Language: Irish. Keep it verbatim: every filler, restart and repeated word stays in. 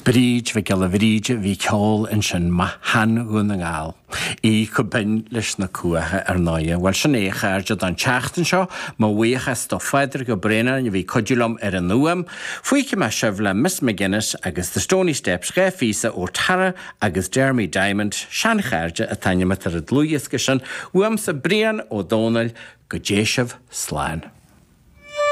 Bríd Mhic Giolla Bhríde bhí ceol ansin mo shean-Dhún na nGall. Í chomh binn leis na cuacha ar ndóigh. Bhuel sin é a chairde don tseachtain seo, mo bhuíochas do Phádraig Ó Braonáin a bhí ag cuidiú liom ar an fhuaim. Fágfaidh mé sibh le Miss McGuinness agus The Stony Steps dhá phíosa ó Tara agus Jeremy Diamond, seanchairde atá in ar an dlúthdhiosca sin, uaimse Brian Ó Dónaill go dté sibh slán.